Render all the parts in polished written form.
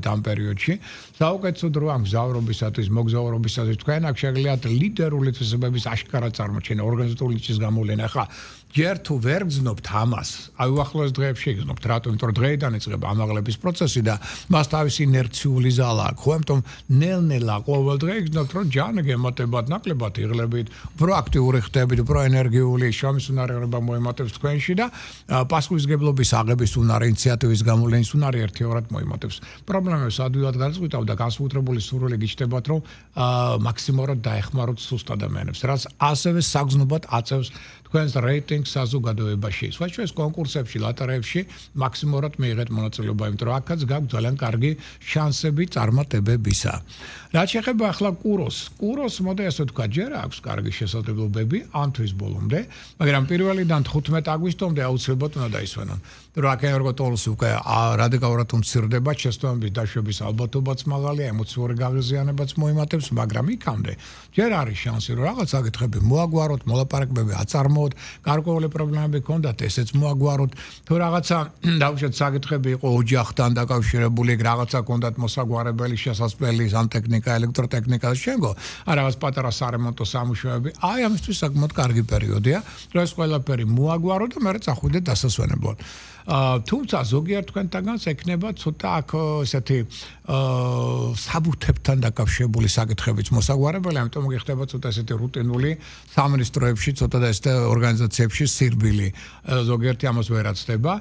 ამ პერიოდში საუკეთესო დრო ამ გზავრობისათვის, მოგზაურობისათვის თქვენ აქ შეგიძლიათ ლიდერული თვისებების აშკარა წარმოჩენა, ორგანიზატორული ნიშნის გამოვლენა. ახლა ჯერ თუ ვერ გძნობთ ამას, აი უახლოეს დღეებში გძნობთ, რატომ? იმიტომ რომ დღეიდან იწყება ამაღლების პროცესი და მას თავისი ინერციული ზალა აქვს. ხო, ამიტომ ნელ-ნელა ყოველ დღე გძნობთ, რომ ჯან გემატებათ, ნაკლებად იღლებით, პროაქტიული ხდებით, პროენერგიული შრომის უნარიერობა მოემატებს თქვენში და პასუხისმგებლობის აღების უნარი, ინიციატივის გამოვლენის უნარი ერთიორად მოემატებს. პრობლემებს ადვილად გადაწყვეტავ და განსაკუთრებული სურვილი გიჩნდებათ, რომ მაქსიმალურად დაეხმაროთ სუსტ ადამიანებს, რაც ასევე საგრძნობად აწევს თქვენს რეიტინგს საზოგადოებაში. სხვაჩვენს კონკურსებში, ლოტერეებში მაქსიმალურად მიიღეთ მონაწილეობა, იმიტომ რომ აქაც გაქვთ ძალიან კარგი შანსები წარმატებებისა. რაც შეეხება ახლა კუროს მოდი ასე ვთქვა, ჯერ აქვს კარგი შესაძლებლობები ამ თვის ბოლომდე, მაგრამ 1-დან 15 აგვისტომდე აუცილებლად უნდა დაისვენონ. რომ აქ ენერგოტოლოს უკვე რადიკალურად უმცირდება, შეცდომების დაშვების ალბათობაც მაღალია, ემოციური გაღიზიანებაც მოიმატებს, მაგრამ იქამდე ჯერ არის შანსი, რომ რაღაც საკითხები მოაგვაროთ, მოლაპარაკებები აწარმოოთ, გარკვეული პრობლემები ჰქონდათ, ესეც მოაგვაროთ. თუ რაღაცა დაუშვათ საკითხები იყო ოჯახთან დაკავშირებული, რაღაცა ჰქონდათ მოსაგვარებელი შესაძლებელი სანტექნიკა, ელექტროტექნიკა და შემდგო, რაღაც პატარა სარემონტო სამუშაოები, აი ამისთვის საკმაოდ კარგი პერიოდია, რომ ეს ყველაფერი მოაგვაროთ და მერე წახვიდეთ დასასვენებლად. თუმცა ზოგიერთ თქვენთაგანს ექნება ცოტა აქ ესეთი საბუთებთან დაკავშირებული საკითხებიც მოსაგვარებელი, ამიტომ გიხდება ცოტა ესეთი რუტინული სამინისტროებში, ცოტა და ესეთი ორგანიზაციებში სირბილი. ზოგიერთი ამას ვერ აცდება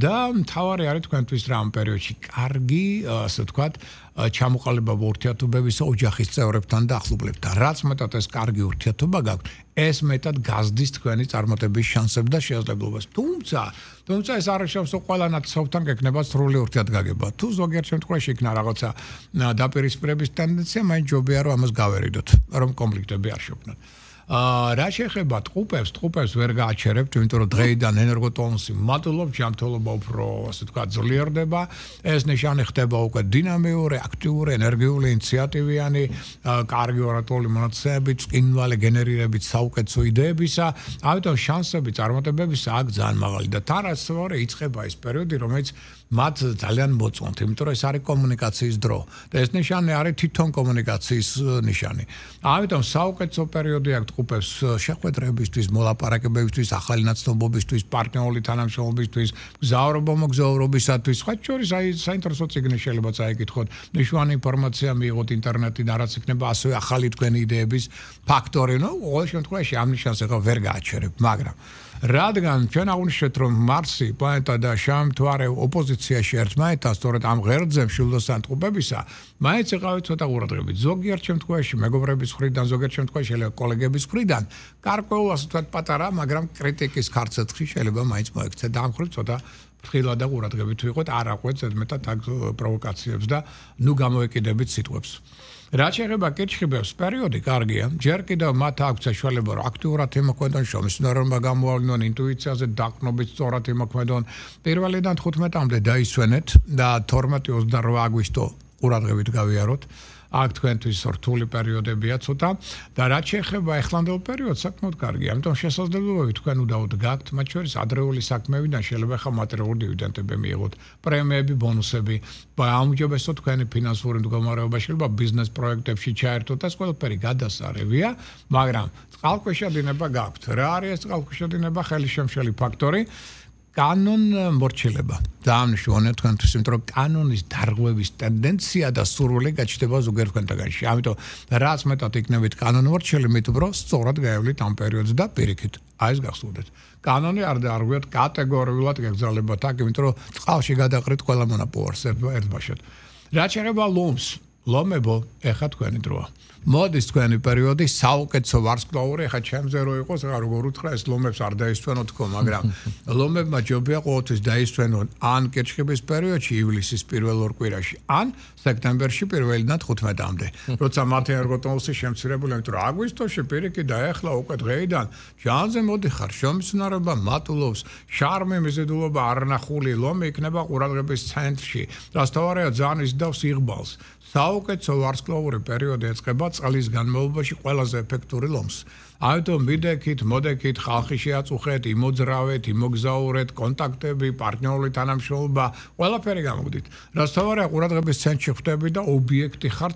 და მთავარი არის თქვენთვის რა ამ პერიოდში კარგი, ასე ვთქვათ, ჩამოყალიბება ურთიერთობებისა ოჯახის წევრებთან და ახლობლებთან. რაც მეტად ეს კარგი ურთიერთობა გაქვთ, ეს მეტად გაზრდის თქვენი წარმატების შანსებს და შესაძლებლობას. თუმცა ეს არ შეავს ყველა ნაცნობთან გექნება სრული ურთიერთგაგება. თუ ზოგიერთ შემთხვევაში იქნა რაღაცა დაპირისპირების ტენდენცია, მაინც ჯობია რომ ამას გავერიდოთ, რომ კონფლიქტები არ შექმნათ. რა შეეხება ტყუპებს ვერ გააჩერებთ, იმიტომ რომ დღეიდან ენერგოტონუსი მატულობს, ჯანმრთელობა უფრო ასე ვთქვათ ძლიერდება, ეს ნიშანი ხდება უკვე დინამიური, აქტიური, ენერგიული, ინიციატივიანი, კარგი ორატიული მონაცემებით, წინვალი გენერირებით საუკეთესო იდეებისა, ამიტომ შანსები წარმატებებისა აქ ძალიან მაღალი და თანასწორად იწყება ეს პერიოდი, რომელიც მათ ძალიან მოწონთ, იმიტომ რომ ეს არის კომუნიკაციის დრო და ეს ნიშანი არის თვითონ კომუნიკაციის ნიშანი. ამიტომ საუკეთესო პერიოდი აქვს ტყუპებს შეხვედრებისთვის, მოლაპარაკებებისთვის, ახალი ნაცნობობისთვის, პარტნიორული თანამშრომლობისთვის, მოგზაურობისათვის, სხვა შორის საინტერესო წიგნი შეიძლება წაიკითხოთ, მნიშვნელოვანი ინფორმაცია მიიღოთ ინტერნეტიდან, რაც იქნება ასევე ახალი თქვენი იდეების ფაქტორი. ყოველ შემთხვევაში ამ ნიშანს ახლა ვერ გააჩერებ, მაგრამ რადგან ჩვენ აღვნიშნეთ, რომ მარსი, პლანეტა და შამთვარე ოპოზიციაში ერთმანეთთან, სწორედ ამ ღერძზე მშვილდოსთან ტყუპებისა, მაინც იყავით ცოტა ყურადღებით. ზოგიერთ შემთხვევაში მეგობრების მხრიდან, ზოგიერთ შემთხვევაში შეიძლება კოლეგების მხრიდან, გარკვეულ ასე ვთქვათ პატარა, მაგრამ კრიტიკის ქარცეცხლი შეიძლება მაინც მოექცეთ და ამ მხრივ ცოტა ფრთხილად და ყურადღებით ვიყოთ, არ აყვეთ ზედმეტად აქ პროვოკაციებს და გამოეკიდებით სიტყვებს. რაც შეეხება კითხებებს, პერიოდი კარგია. ჯერ კიდევ მათ აქვს საშუალება, რომ აქტიურად იმოქმედონ, შრომის უნარობა გამოავლინონ, ინტუიციაზე დაყრდნობით სწორად იმოქმედონ. 1-დან 15-მდე დაისვენეთ და 12-28 აგვისტო ყურადღებით გავიაროთ. აქ თქვენთვის რთული პერიოდებია ცოტა და რაც შეეხება ახლანდელ პერიოდს, საკმაოდ კარგია. ამიტომ შესაძლებლობები თქვენ უდაოდ გაქვთ, მათ შორის ადრეული საქმეებიდან შეიძლება ხა მატერიალური დივიდენდები მიიღოთ, პრემიები, ბონუსები, აუმჯობესოთ თქვენი ფინანსური მდგომარეობა, შეიძლება ბიზნეს პროექტებში ჩაერთოთ და ეს ყველაფერი გადასარევია, მაგრამ წყალქვეშა დინება გაქვთ. რა არის ეს წყალქვეშა დინება? ხელისშემშელი ფაქტორი. კანონ მორჩილება. ძალიან მნიშვნელოვანია თქვენთვის, იმიტომ რომ კანონის დარღვევის ტენდენცია და სურვილი გაჩნდება ზოგიერთ თქვენთაგანში. ამიტომ რაც მეტად იქნებით კანონ მორჩილი, მით უფრო სწორად გაევლით ამ პერიოდს და პირიქით. აი ეს გახსოვდეთ. კანონი არ დაარღვიოთ კატეგორიულად გაგზავნებათ აქ, იმიტომ რომ წყალში გადაყრით ყველა მონაპოვარს ერთბაშად. რაც შეეხება ლომებო, ეხა თქვენი დროა. მოდის თქვენი პერიოდი საუკეთესო ვარსკვლავური, ეხა ჩემზე რო იყოს, როგორ უთხრა ეს ლომებს არ დაისვენოთ თქო, მაგრამ ლომებმა ჯობია ყოველთვის დაისვენონ ან კირჩხიბის პერიოდში, ივლისის პირველ ორ კვირაში, ან სექტემბერში 1-დან 15-მდე. როცა მათი ენერგოტონუსი შემცირებული, იმიტომ რომ აგვისტოში პირიქით და ეხლა უკვე დღეიდან ჟანზე მოდიხარ, შრომის უნარობა მატულობს, შარმი, მიზიდულობა არნახული ლომი იქნება ყურადღების ცენტრში. რასთავარია ძალიან ისდავს იღბალს. საუკეთესო ვარსკვლავური პერიოდი ეწყება წლის განმავლობაში ყველაზე ეფექტური ლომს. ამიტომ მიდექით, მოდექით, ხალხი შეაწუხეთ, იმოძრავეთ, იმოგზაურეთ, კონტაქტები, პარტნიორული თანამშრომლობა, ყველაფერი გამოგდით. რაც თავარია ყურადღების ცენტრში ხვდები და ობიექტი ხართ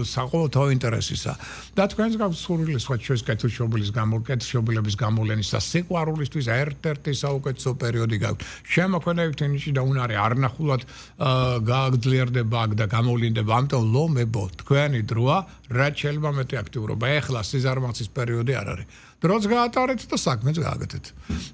საყოველთაო ინტერესისა. და თქვენს გაქვს სურვილი სხვა ჩვენს კეთილშობილების გამოვლენის და სიყვარულისთვის ერთ-ერთი საუკეთესო პერიოდი გაქვთ. შემოქმედებითი ნიში და უნარი არნახულად გააგძლიერდება აქ და გამოვლინდება. ამიტომ ლომებო, თქვენი დროა, რაც შეიძლება მეტი აქტიურობა. ეხლა სიზარმაცის პერიოდი არ არის. დროც გაატარეთ და საქმეც გააკეთეთ.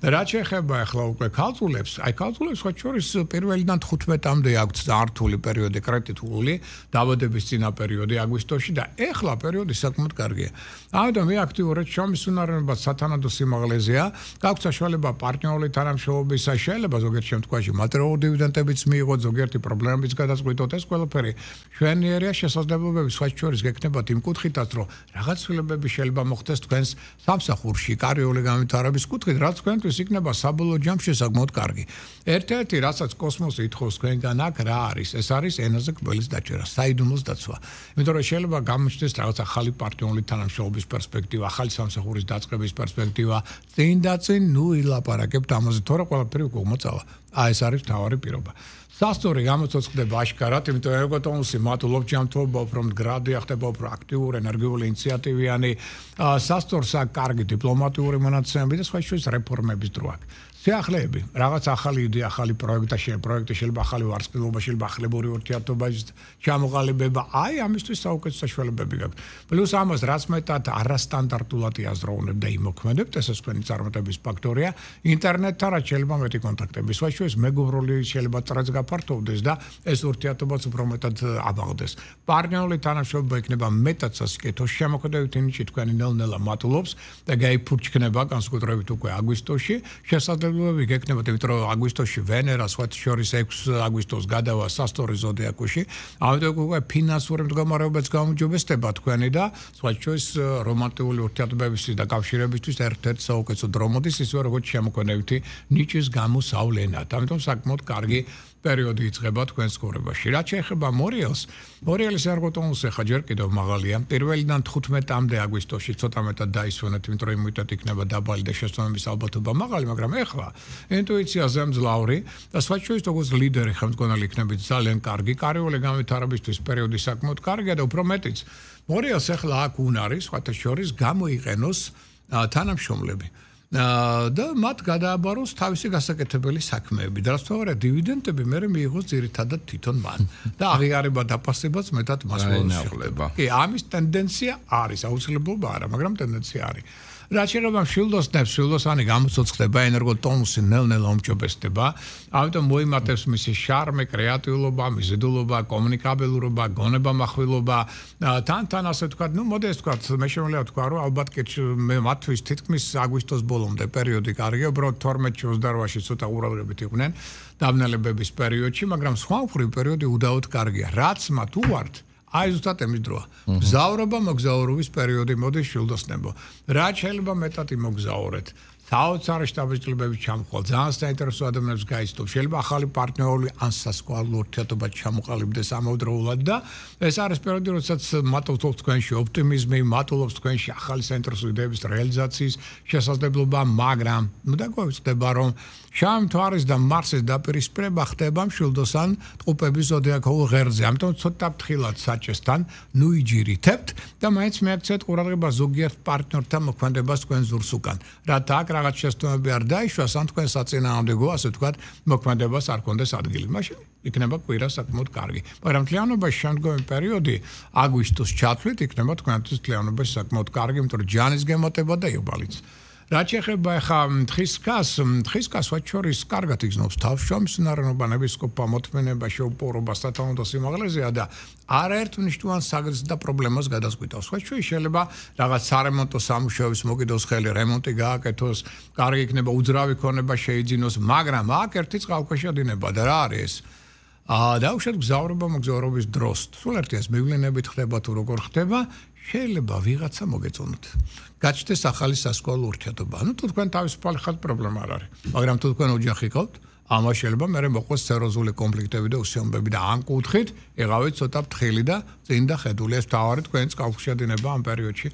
რაც შეეხება ახლა უკვე ქალწულებს, ქალწულებს სხვა შორის პირველიდან 15-მდე აქვთ ზართული პერიოდი კრიტიკული, დაბადების წინა პერიოდი აგვისტოში და ახლა პერიოდი საკმაოდ კარგია. ამიტომ მე აქტიურად შრომის უნარიანობა სათანადო სიმაღლეზეა, გაქვთ საშუალება პარტნიორული თანამშრომლობისა, შეიძლება ზოგიერთ შემთხვევაში მატერიალური დივიდენდებიც მიიღოთ, ზოგიერთი პრობლემებიც გადაწყვიტოთ, ეს ყველაფერი ჩვენიერია შესაძლებლობები სხვა შორის გექნებათ იმ კუთხითაც, რომ რაღაც ცვლილებები შეიძლება მოხდეს თქვენს სამსახურში, კარიერული განვითარების კუთხით, რაც თქვენთვის იქნება საბოლოო ჯამში საკმაოდ კარგი. ერთ-ერთი, რასაც კოსმოსი ითხოვს თქვენგან აქ რა არის? ეს არის ენაზე კბილის დაჭერა, საიდუმლოს დაცვა. იმიტომ რომ შეიძლება გამოჩნდეს რაღაც ახალი პარტნიორული თანამშრომლობის პერსპექტივა, ახალი სამსახურის დაწყების პერსპექტივა, წინ და წინ ილაპარაკებთ ამაზე, თორე ყველაფერი უკვე მოწავა. ეს არის მთავარი პირობა. სასტური გამოცოცხლდება აშკარად, იმიტომ რომ ეგოტონუსი მადლობ ჯანმრთელობა უფრო მდგრადი ხდება, უფრო აქტიური, ენერგიული, ინიციატივიანი, სასტურს აქვს კარგი დიპლომატიური მონაცემები და სხვა შორის რეფორმების დრო აქვს. შეახლეები, რაღაც ახალი იდეა, ახალი პროექტი შეიძლება ახალი ვარსკვლავობა, შეიძლება ახლებური ურთიერთობის ჩამოყალიბება, ამისთვის საუკეთესო საშუალებები გაქვთ. პლუს ამას რაც მეტად არასტანდარტულად იაზროვნებ და იმოქმედებთ, ესეც თქვენი წარმატების ფაქტორია, ინტერნეტთან რაც შეიძლება მეტი კონტაქტები, სხვა შორის მეგობრული შეიძლება ტრაც გაფართოვდეს და ეს ურთიერთობაც უფრო მეტად აბაღდეს. პარტნიორული თანამშრომლობა იქნება მეტად სასიკეთო, შემოქმედებითი ნიჭი თქვენი ნელ-ნელა მატულობს და გაიფურჩქნება განსაკუთრებით უკვე აგვისტოში, შესაძლებლობები გექნებათ, იმიტომ რომ აგვისტოში ვენერა სხვა შორის 6 აგვისტოს გადავა სასტური ზოდიაკოში, ამიტომ უკვე ფინანსური მდგომარეობაც გამოჯობესდება თქვენი და სხვა შორის რომანტიკული ურთიერთობებისთვის და კავშირებისთვის ერთ-ერთი საუკეთესო დრო მოდის, ისე როგორც შემოქმედებითი ნიჭის გამოსავლენად. ამიტომ საკმაოდ კარგი პერიოდი იწყება თქვენს ცხოვრებაში. რაც შეეხება მორიელის ერგოტონუსი ხა ჯერ კიდევ მაღალია. პირველიდან 15-მდე აგვისტოში ცოტა მეტად დაისვენეთ, იმიტომ რომ იმუნიტეტი იქნება დაბალი და შესაბამის ალბათობა მაღალი, მაგრამ ეხლა ინტუიცია ზემძლავრი და სხვა შორის როგორც ლიდერი ხელმძღვანელი იქნებით ძალიან კარგი, კარიერული განვითარებისთვის პერიოდი საკმაოდ კარგია და უფრო მეტიც. მორიელს ეხლა აქ უნარი, სხვათა შორის გამოიყენოს თანამშრომლები. და მათ გადააბაროს თავისი გასაკეთებელი საქმეები. და რაც თორე დივიდენდები მე მიიღოს ძირითადად თვითონ მან. და აღიარება დაფასებაც მეტად მას მოუხდება. კი, ამის ტენდენცია არის, აუცილებლობა არა, მაგრამ ტენდენცია არის. რაც შეეხება მშვილდოსანი გამოცოცხლდება, ენერგოტონუსი ნელ-ნელა უმჯობესდება, ამიტომ მოიმატებს მისი შარმი, კრეატიულობა, მიზიდულობა, კომუნიკაბელურობა, გონებამახვილობა, თან ასე ვთქვათ, მოდი ეს ვთქვათ, მე შემიძლია ვთქვა, რომ ალბათ მე მათთვის თითქმის აგვისტოს ბოლომდე პერიოდი კარგია, უბრალოდ 12-28-ში ცოტა ყურადღებით იყვნენ დაბნელებების პერიოდში, მაგრამ სხვა უფრო პერიოდი უდაოდ კარგია. რაც მათ უვართ ზუსტად ამის დროა. მგზავრობა, მოგზაურობის პერიოდი მოდის შვილდოსნებო. რაც შეიძლება მეტად იმოგზაურეთ. საოცარი შტაბის წლებები ჩამოყალ, ძალიან საინტერესო ადამიანებს გაიცნობ. შეიძლება ახალი პარტნიორული ან სასკვალო ურთიერთობა ჩამოყალიბდეს ამავდროულად და ეს არის პერიოდი, როდესაც მატულობს თქვენში ოპტიმიზმი, მატულობს თქვენში ახალი საინტერესო იდეების რეალიზაციის შესაძლებლობა, მაგრამ დაგვეცდება რომ შავი მთვარის და მარსის დაპირისპირება ხდება მშვილდოსან ტყუპების ზოდიაქურ ღერძზე. ამიტომ ცოტა ფრთხილად საჭესთან ნუიჯირითებთ და მაინც მიაქცეთ ყურადღება ზოგიერთ პარტნიორთან მოქმედებას თქვენ ზურს უკან. რათა აქ რაღაც შეცდომები არ დაიშვას, ან თქვენ საწინააღმდეგო, ასე ვთქვათ, მოქმედებას არ კონდეს ადგილი. მაშინ იქნება კვირა საკმაოდ კარგი. მაგრამ თლიანობაში შემდგომი პერიოდი აგვისტოს ჩათვლით იქნება თქვენთვის თლიანობაში საკმაოდ კარგი, იმიტომ რომ ჯანის გემატება და იუბალიც. რაც შეეხება ახლა თხის კას მათ შორის კარგად იგრძნობს თავს შრომის უნარიანობა, ნებისყოფა, მოთმენება, შეუპოვრობა, სათანადო სიმაღლეზეა და არაერთ მნიშვნელოვან საგრძს და პრობლემას გადაწყვიტავს. სხვა შეიძლება რაღაც სარემონტო სამუშაოების მოკიდოს ხელი, რემონტი გააკეთოს, კარგი იქნება უძრავი ქონება შეიძინოს, მაგრამ აქ ერთი წყალქვეშა დინება და რა არის ეს? დაუშვათ გზავრობა მოგზაურობის დროს. სულ ერთიას მივლინებით ხდება თუ როგორ ხდება, შეიძლება ვიღაცა მოგეწონოთ. გაჩნდეს ახალი სასკოლო ურთიერთობა. თუ თქვენ თავისუფალი ხართ, პრობლემა არ არის. მაგრამ თუ თქვენ ოჯახი ყავთ, ამას შეიძლება მე მოყვეს სერიოზული კონფლიქტები და უსიამოვნებები და ამ კუთხით იღავით ცოტა ფრთხილი და წინ და ხედული. ეს თავარი თქვენ წყალქვეშა დინება ამ პერიოდში.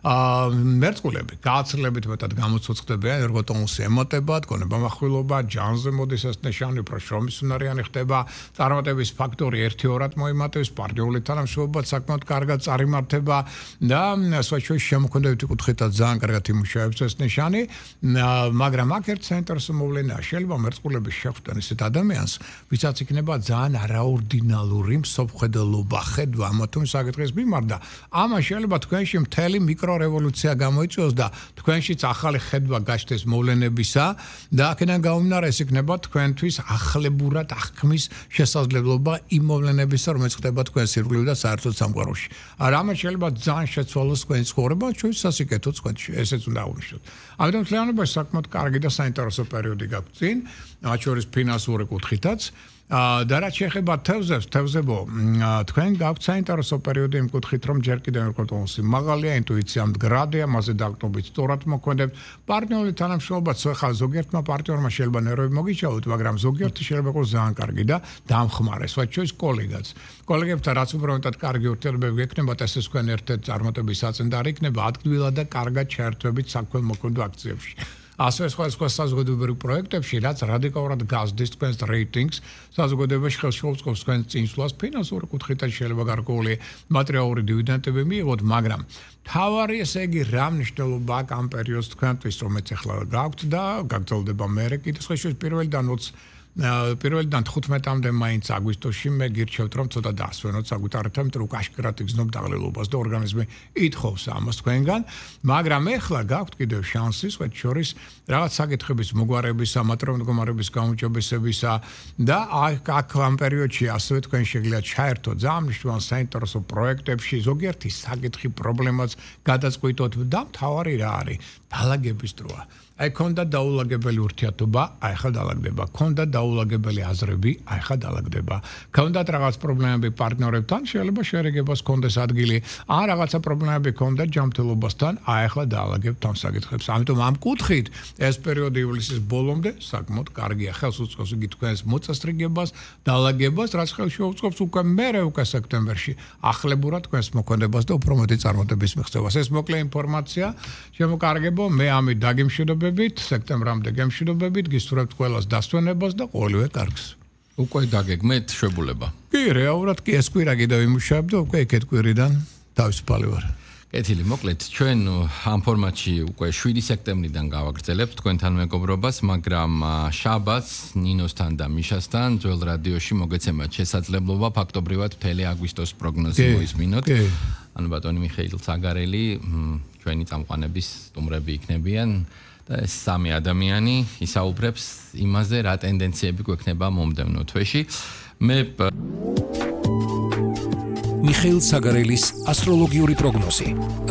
მერწყულები გააცრლებით მეტად გამოცოცხლდებიან, ერგო ტონუსი ემოტება, გონება מחვილობა, ჯანზე მოდის ეს ნიშანი, უფრო შრომის უნარიანი ხდება, წარმატების ფაქტორი 1-2-რად მოიმატებს, პარტიული თანამშრომლობა საკმაოდ კარგად წარიმართება და სვაჩოის შემოქმედებითი კუთხითაც ძალიან კარგად იმუშავებს ეს ნიშანი, მაგრამ აქ ერთ საინტერესო მოვლენაა, შეიძლება მერწყულების შეხვდნენ ისეთ ადამიანს, ვისაც იქნება ძალიან არაორდინალური მსოფლმხედველობა, ხედვა ამა თუ იმ საკითხის მიმართ და ამას შეიძლება თქვენში მთელი მიკრორევოლუცია გამოიწვიოს და თქვენშიც ახალი ხედვა გაჩნდეს მოვლენებისა და აქედან გამომდინარე ეს იქნება თქვენთვის ახლებურად აღქმის შესაძლებლობა იმ მოვლენებისა, რომელიც ხდება თქვენ სირგლივ და საერთოდ სამყაროში. რამაც შეიძლება ძალიან შეცვალოს თქვენი ცხოვრება, ჩვენს სასიკეთოც თქვენში, ესეც უნდა აღვნიშნოთ. ამიტომ თლიანობაში საკმაოდ კარგი და საინტერესო პერიოდი გაქვთ წინ, მათ შორის ფინანსური კუთხითაც. და რაც შეეხება თევზებო, თქვენ გაქვთ საინტერესო პერიოდი იმ კუთხით, რომ ჯერ კიდევ ეკონომიკოსი მაღალია, ინტუიცია მდგრადია, მასზე დაყრდნობით სწორად მოქმედებთ. პარტნიორული თანამშრომლობაც ხა ზოგიერთმა პარტნიორმა შეიძლება ნერვები მოგიჩაოთ, მაგრამ ზოგიერთი შეიძლება იყოს ძალიან კარგი და დამხმარე, სხვა შორის კოლეგაც. კოლეგებთან რაც უფრო მეტად კარგი ურთიერთობები გექნებათ, ესე თქვენ ერთ-ერთ წარმატების საწინდარი იქნება ადგილად და კარგად ჩაერთვებით საქველმოქმედო აქციებში. ასე სხვა საზოგადოებრივ პროექტებში, რაც რადიკალურად გაზრდის თქვენს რეიტინგს, საზოგადოებაში ხელშეუწყობს თქვენს წინსვლას, ფინანსური კუთხითაც შეიძლება გარკვეული მატერიალური დივიდენდები მიიღოთ, მაგრამ თავარი ესე იგი რა მნიშვნელობა აქვს ამ პერიოდს თქვენთვის, რომელიც ახლა გაქვთ და გაგრძელდება მერე კიდევ სხვა შორის პირველიდან 15-მდე მაინც აგვისტოში მე გირჩევთ რომ ცოტა დაასვენოთ საგვიტარებთან, იმიტომ რომ კაშკრად იგრძნობ დაღლილობას და ორგანიზმი ითხოვს ამას თქვენგან, მაგრამ ახლა გაქვთ კიდევ შანსი სხვა შორის რაღაც საკითხების მოგვარებისა, მატერიალური მდგომარეობის გაუმჯობესებისა და აქ ამ პერიოდში ასევე თქვენ შეგიძლიათ ჩაერთოთ ძალიან მნიშვნელოვან საინტერესო პროექტებში, ზოგიერთი საკითხი პრობლემაც გადაწყვიტოთ და მთავარი რა არის? დალაგების დროა. აი ქონდა დაულაგებელი ურთიერთობა, აი ხა დალაგდება. ქონდა დაულაგებელი აზრები, აი ხა დალაგდება. ქონდათ რაღაც პრობლემები პარტნიორებთან, შეიძლება შერეგებას ქონდეს ადგილი, ან რაღაცა პრობლემები ქონდა ჯანმრთელობასთან, აი ხა დაალაგებთ ამ საკითხებს. ამიტომ ამ კუთხით ეს პერიოდი ივლისის ბოლომდე საკმაოდ კარგია. ხელს უწყობს იგი თქვენს მოწესრიგებას, დაალაგებას, რაც ხელს შეუწყობს უკვე სექტემბერში ახლებურად თქვენს მოქმედებას და უფრო მეტი წარმატების მიღწევას. ეს მოკლე ინფორმაცია შემოკარგებო, მე ამით დაგემშვიდობებ სექტემბრამდე გემშვიდობებით, გისურვებთ ყველას დასვენებას და ყოველივე კარგს. უკვე დაგეგმეთ შვებულება. კი, რეალურად კი ეს კვირა კიდევ იმუშავებ და უკვე ეკეთ კვირიდან თავისუფალი ვარ. კეთილი, მოკლედ, ჩვენ ამ ფორმატში უკვე 7 სექტემბრიდან გავაგრძელებთ თქვენთან მეგობრობას, მაგრამ შაბათს ნინოსთან და მიშასთან ძველ რადიოში მოგეცემათ შესაძლებლობა ფაქტობრივად მთელი აგვისტოს პროგნოზი მოისმინოთ. ანუ ბატონი მიხეილ ცაგარელი, ჩვენი წამყვანების სტუმრები იქნებიან. და ეს სამი ადამიანი ისაუბრებს იმაზე, რა ტენდენციები გვექნება მომდევნო თვეში. მე მიხეილ ცაგარელის ასტროლოგიური პროგნოზი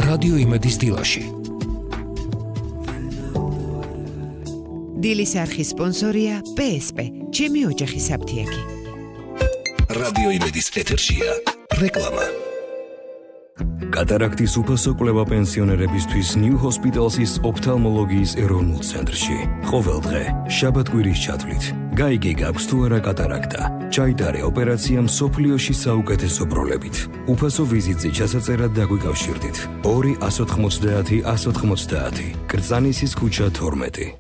რადიო იმედის დილაში. დილის არხის სპონსორია PSP, ჩემი ოჯახის აფთიაქი. რადიო იმედის ეთერშია რეკლამა. კატარაქტის უფასო კვლევა პენსიონერებისთვის New Hospital's ოფთალმოლოგიის ეროვნულ ცენტრში. ყოველ დღე, შაბათ-კვირის ჩათვლით, გაიგე გაქვს თუ არა კატარაქტა. ჩაიტარე ოპერაცია მსოფლიოში საუკეთესო ბროლებით. უფასო ვიზიტზე ჩასაწერად დაგვიკავშირდით. 2-190-190. კრწანისის ქუჩა 12.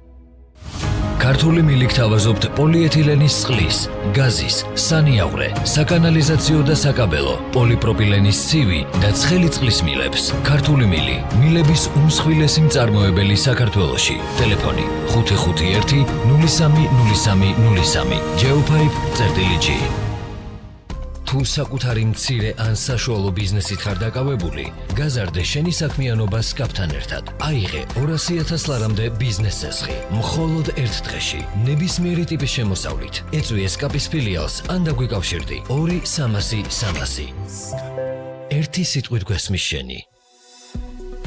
ქართული მილიქ თავაზობთ პოლიეთილენის წყლის, გაზის, სანიავრე, საკანალიზაციო და საკაბელო, პოლიპროპილენის ცივი და ცხელი წყლის მილებს. ქართული მილი, მილების უმსხვილესი მწარმოებელი საქართველოში. ტელეფონი 551 030303. geopipe.g. თუ საკუთარი მცირე ან საშუალო ბიზნესით ხარ დაკავებული, გაზარდე შენი საქმიანობა SCAP-თან ერთად. აიღე 200,000 ლარამდე ბიზნეს წესხი, მხოლოდ ერთ დღეში, ნებისმიერი ტიპის შემოსავლით. ეწვი SCAP-ის ფილიალს ან დაგვიკავშირდი 2-300-300. ერთი სიტყვით გვესმის შენი.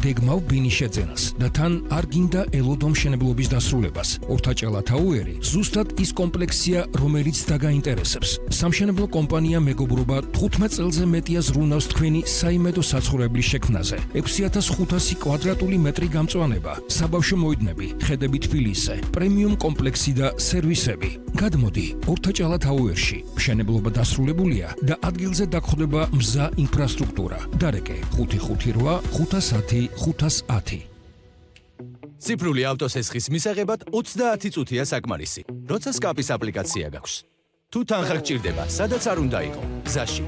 გეგმავ ბინის შეძენას და თან არ გინდა ელოდო მშენებლობის დასრულებას. ორთაჭალა თაუერი ზუსტად ის კომპლექსია, რომელიც დაგაინტერესებს. სამშენებლო კომპანია მეგობრობა 15 წელზე მეტია ზრუნავს თქვენი საიმედო საცხოვრებლის შექმნაზე. 6500 კვადრატული მეტრი გამწვანება, საბავშვო მოედნები, ხედები თბილისზე, პრემიუმ კომპლექსი და სერვისები. გადმოდი ორთაჭალა თაუერში. მშენებლობა დასრულებულია და ადგილზე დაგხვდება მზა ინფრასტრუქტურა. დარეკე 558 510 510. ციფრული ავტოსესხის მისაღებად 30 წუთია საკმარისი, როცა სკაპის აპლიკაცია გაქვს. თუ თანხა გჭირდება, სადაც არ უნდა იყო, გზაში.